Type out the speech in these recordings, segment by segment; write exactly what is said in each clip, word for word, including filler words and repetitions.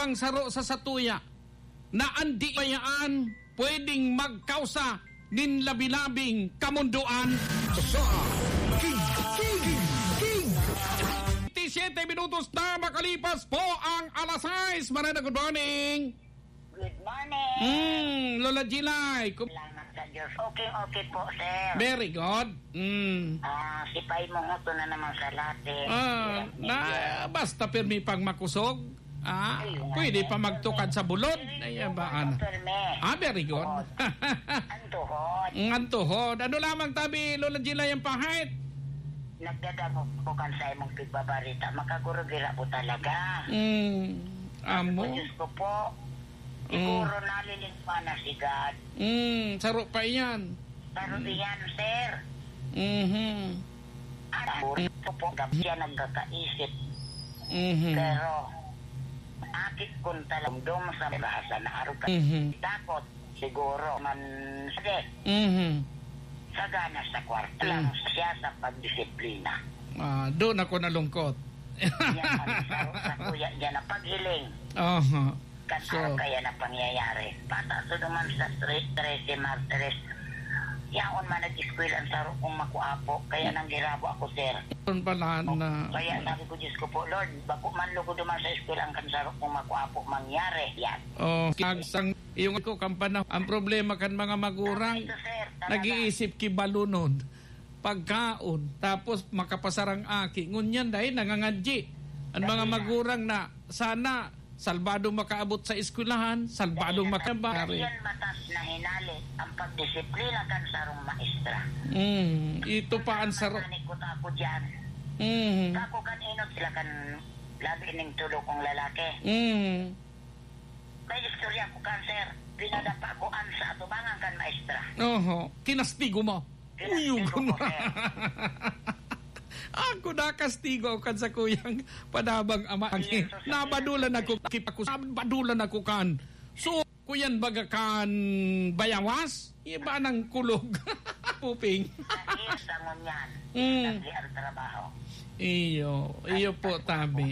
ang saro sa satuya na an di bayaan pwedeng magkausa nin labi-labing kamundoan. Sa King, King, King. Twenty-siyete minutos na makalipas po ang alas sais. Manana, good morning. Good morning. Hmm, Lola Jilay. Kum- Salamat sa Diyos. Okay, okay po, sir. Very good. Hmm. Ah, si Pay Mohoto na naman sa latte. Ah, Yes, na, yes. Basta pirmi pang makusog. Ah, Ayun nga, pwede eh. pa magtukad sa bulod. Ay, Tuhod, abaan. Doktor Me. Ah, very good. Tuhod. Ang tuhod. Ang tuhod. Ano lamang tabi, Lola Jilay, ang pahit? Nagdadangog ko kan sa imong pigbabarita. Makaguro gira po talaga. Mm, amo. Diyos ko po. Mm. Siguro nalilingwa na si God. Mm, saro pa iyan. Saro Mm. iyan, sir. Mhm. At ako po, gab-, siya nagkakaisip. Mhm. Pero, akit kun talamdom sa bahasa na arog ka Mhm. takot, siguro man, sige. Mhm. Sagana sa kwarta Mm. lang siya sa pagdisiplina. Ah, doon ako nalungkot. Yan ang sa, sa kuya niya na paghiling. Aha. Kan So, araw kaya na pangyayari. Bata to naman sa tre-, trese Martires. Yaon man nag-eskwela ang saro kong makuapo. Kaya nang girabo ako, sir. Yun pala Oh, na kaya sabi ko, "Diyos ko po, Lord, bako man lugod naman sa eskwela ang kan saro kong makuapo mangyari." Yan. Oh, kagsang, yung ko, kan panahon, ang problema kan mga magurang, Tama ito, sir. Talaga. nag-iisip ki balunod, pagkaon, tapos makapasarang aki. Ngunyan dahil nangangadji. Ang mga Dali na. magurang na sana salbadong makaabot sa eskwelahan, salbadong Dali na. makabari. Yan matas na hinali ang pagdisiplina kan sarong maestra. Mm, ito pa ang saro. Nananikot ako dyan. Mm. Ako kan inot sila kan labi ning tulo kong lalaki. Mm. May istorya ko kan, sir. Pinadapa ko an sa atubangan kan maestra. Oho. Kinastigo mo. Kinastigo Uyog ko, mo. sir. Ako nakastigo kan sa kuyang padabang ama. Yes, sir. Nabadulan ako, kipakus-, nabadulan ako kan. So, kuyan baga kan bayawas? Iba nang kulog. Puping. Sa iya sa ngunyan, Mm. nagdi ang trabaho. Iyo, iyo Ay, po, ay, tabi.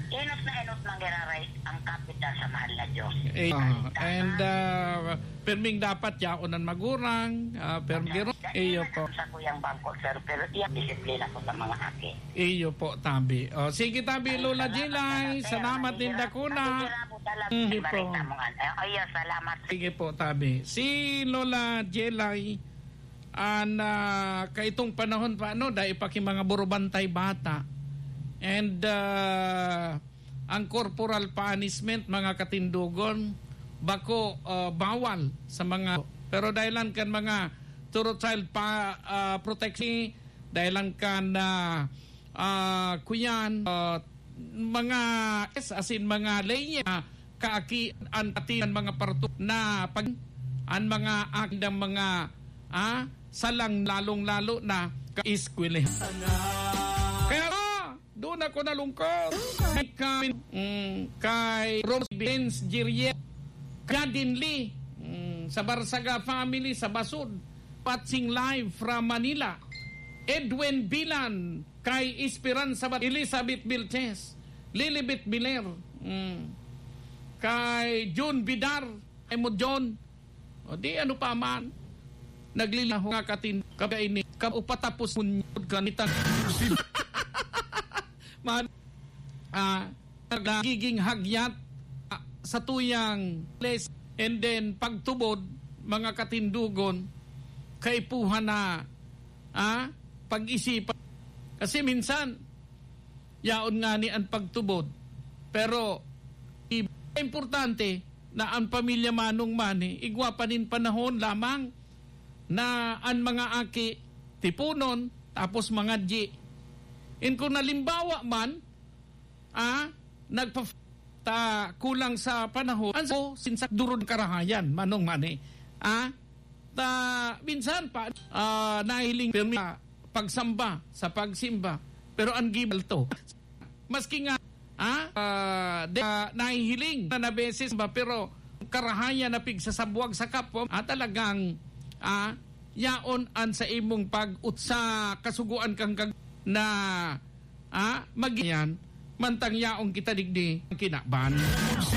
Inot na inot manggiraray ang kapitan sa mahal na Diyos. Eh, Salita and, na. uh, perming dapat yaon ang magurang, ah, perming giro-, Sa iyo inot po. sa kuyang bangko, sir, pero iya disiplina ko sa mga aki. Iyo po, tabi. Oh, sige, tabi, Ay, Lola salamat, Jilay. salamat, sir. Salamat, Linda Nagigirabo, Cuna. nagigirabo talaga. Mhm po. Barita mo nga. Eh, oh, iya, salamat. Sige po, tabi. Si Lola Jilay, an, ah, kaitong panahon pa, ano, dai pa ki mga burubantay bata. And, ah, ang corporal punishment, mga katindogon, bako, ah, bawal sa mga, pero dahilan kan mga thorough child pa, ah, protection, dahilan kan, ah, ah, kuyan, ah, mga, yes, as in, mga leyes, ah, kaaki, an pati an mga parto na pag, an mga akidang mga, ah, salang lalong-lalo na ka-eskwela. Kaya, ah, doon ako nalungkot. Kay, mm, kay Rose Benz Giriel, Gadin Lee, mm, sa Barsaga family, sa Basud, watching live from Manila. Edwin Bilan, kay Esperanza Bat-, Elizabeth Vilches, Lilibet Biler, mm, kay John Bidar, kay mo John. O di, ano pa man, nagliliho nga katin-, kabaini, ka-, upatapos munyod kanitan. Man, ah, nagiging hagyat, ah, sa tuyang place, and then pagtubod, mga katindogon, kaipuhan na, ah, pag-isipan. Kasi minsan, yaon ngani an pagtubod. Pero, i-, importante na an pamilya Manong Manny, igwa pa nin panahon lamang na an mga aki tiponon, tapos mangadyi. And kung halimbawa man, ah, nagpa-, ta kulang sa panahon, an sa, sinsa durod karahayan, Manong Manny. Ah, ta, minsan pa, ah, nahiling pirmi sa pagsamba, sa pagsimba. Pero an gibal to. Maski nga, ah, ah, de, ah, nahihiling na, na beses ba, pero karahayan na pigsasabwag sa kapwa, ah, talagang, ah, yaon an sa imong pag-utsa, kasugoan kang kag-, na, ah, mag-, yan, mantang yaon kita digdi, kinaban.